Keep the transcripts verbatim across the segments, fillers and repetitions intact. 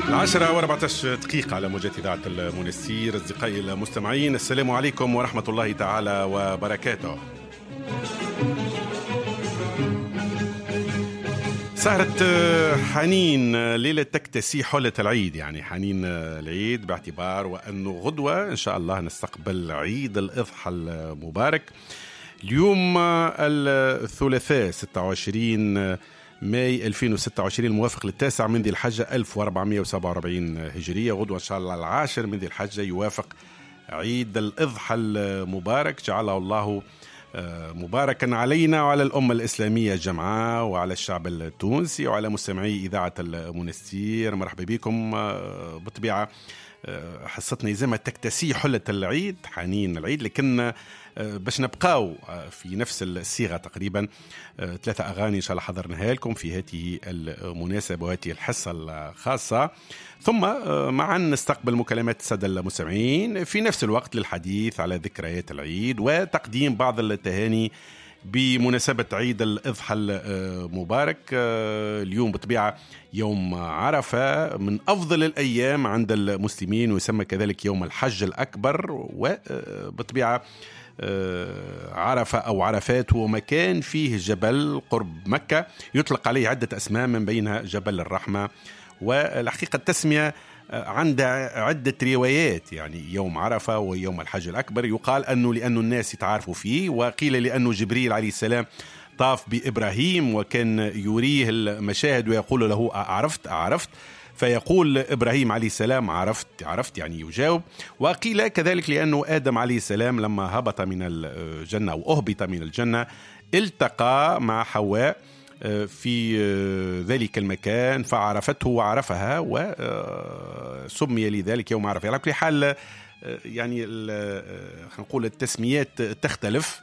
العشرة وأربعة عشر دقيقة على موجات إذاعة المنستير. أصدقائي المستمعين، السلام عليكم ورحمة الله تعالى وبركاته. سهرة حنين ليلة تكتسي حلة العيد، يعني حنين العيد باعتبار وأنه غدوة إن شاء الله نستقبل عيد الإضحى المبارك. اليوم الثلاثاء ستة وعشرين ماي ألفين وستة وعشرين، الموافق للتاسع من ذي الحجة ألف وأربعمية وسبعة وأربعين هجرية. غدوة إن شاء الله العاشر من ذي الحجة يوافق عيد الإضحى المبارك، جعله الله آه، مباركا علينا وعلى الأمة الإسلامية جمعاء وعلى الشعب التونسي وعلى مستمعي إذاعة المنستير. مرحبا بكم. آه، بالطبيعة آه، حصتنا يلزمها تكتسي حلة العيد، حنين العيد، لكن باش نبقاو في نفس الصيغة تقريبا، ثلاثة أغاني إن شاء الله حضرناها لكم في هذه المناسبة وهذه الحصة الخاصة، ثم معا نستقبل مكالمات السادة المستمعين في نفس الوقت للحديث على ذكريات العيد وتقديم بعض التهاني بمناسبة عيد الإضحى المبارك. اليوم بطبيعة يوم عرفة، من أفضل الأيام عند المسلمين، ويسمى كذلك يوم الحج الأكبر. وبطبيعة عرفة أو عرفات هو مكان فيه جبل قرب مكة يطلق عليه عدة أسماء، من بينها جبل الرحمة. والحقيقة التسمية عندها عدة روايات، يعني يوم عرفة ويوم الحج الأكبر يقال أنه لأنه الناس يتعارفوا فيه، وقيل لأنه جبريل عليه السلام طاف بإبراهيم وكان يريه المشاهد ويقول له: أعرفت؟ أعرفت؟ فيقول إبراهيم عليه السلام: عرفت، عرفت، يعني يجاوب. وقيل كذلك لأنه آدم عليه السلام لما هبط من الجنة أو أهبط من الجنة التقى مع حواء في ذلك المكان فعرفته وعرفها، وسمي لذلك يوم عرفة. على كل حال، يعني خلينا نقول التسميات تختلف،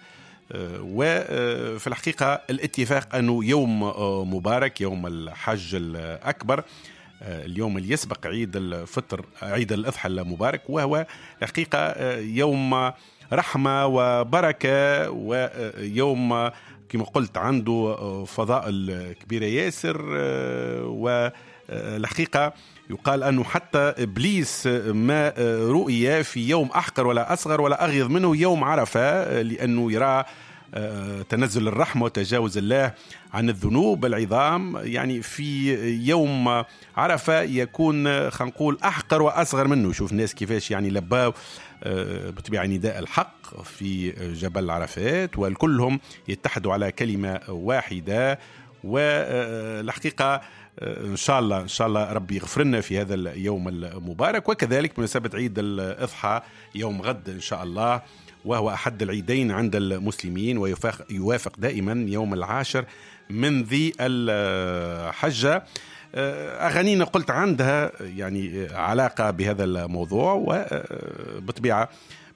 وفي الحقيقة الاتفاق أنه يوم مبارك، يوم الحج الأكبر، اليوم اللي يسبق عيد الفطر، عيد الأضحى المبارك، وهو الحقيقة يوم رحمة وبركة، ويوم كما قلت عنده فضائل كبيرة ياسر. والحقيقة يقال أنه حتى إبليس ما رؤي في يوم أحقر ولا أصغر ولا أغيظ منه يوم عرفة، لأنه يرى تنزل الرحمة وتجاوز الله عن الذنوب العظام. يعني في يوم عرفة يكون خلينا نقول أحقر وأصغر منه. شوف الناس كيفاش يعني لباو بطبيعة نداء الحق في جبل عرفات، والكلهم يتحدوا على كلمة واحدة. والحقيقة إن شاء الله، إن شاء الله ربي يغفر لنا في هذا اليوم المبارك، وكذلك بمناسبة عيد الأضحى يوم غد إن شاء الله، وهو أحد العيدين عند المسلمين ويوافق دائما يوم العاشر من ذي الحجة. أغانينا قلت عندها يعني علاقة بهذا الموضوع، وبطبيعة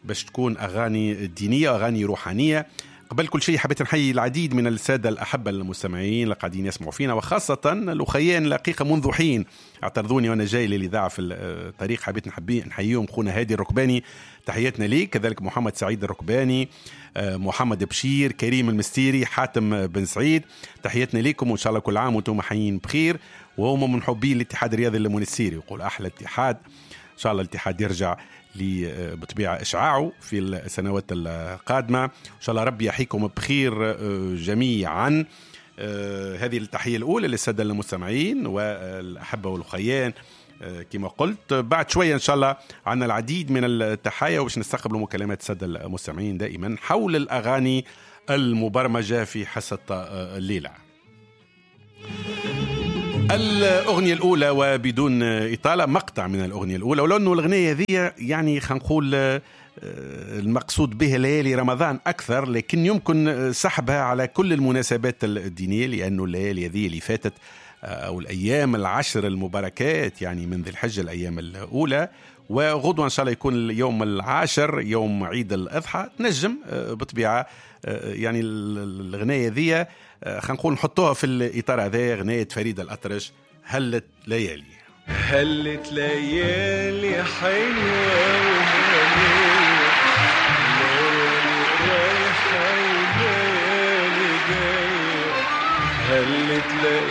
باش تكون أغاني دينية، أغاني روحانية. قبل كل شيء حبيت نحيي العديد من السادة الأحبة المستمعين اللي قاعدين يسمعوا فينا، وخاصة الأخيان الحقيقة منذ حين اعترضوني وأنا جاي للإذاعة في الطريق، حبيت نحبي نحييهم. خونا هادي الركباني، تحياتنا ليك، كذلك محمد سعيد الركباني، محمد بشير، كريم المستيري، حاتم بن سعيد، تحياتنا ليكم وإن شاء الله كل عام وأنتم حيين بخير. وهم من محبي الاتحاد الرياضي المونستيري، يقول أحلى اتحاد. إن شاء الله الاتحاد يرجع بطبيعة إشعاعه في السنوات القادمة. إن شاء الله ربي يحييكم بخير جميعا. هذه التحية الأولى للسادة المستمعين والأحبة والخيان. كما قلت، بعد شوية إن شاء الله عندنا العديد من التحايا وباش نستقبل مكالمات السادة المستمعين دائما حول الأغاني المبرمجة في حصة الليلة. الأغنية الأولى، وبدون إطالة، مقطع من الأغنية الأولى، ولو أنه الأغنية ذي يعني خلينا نقول المقصود بها ليالي رمضان أكثر، لكن يمكن سحبها على كل المناسبات الدينية، لأنه الليالي هذه اللي فاتت أو الأيام العشر المباركات يعني من ذي الحجة، الأيام الأولى، وغدوة إن شاء الله يكون اليوم العاشر يوم عيد الأضحى، تنجم بطبيعة يعني الغناية ذي خلينا نقول نحطوها في الإطار هذا. غناية فريد الأطرش، هلت ليالي. هلت ليالي حلوة وهنية، ليالي رايحة وليالي جاية، هلت ليالي.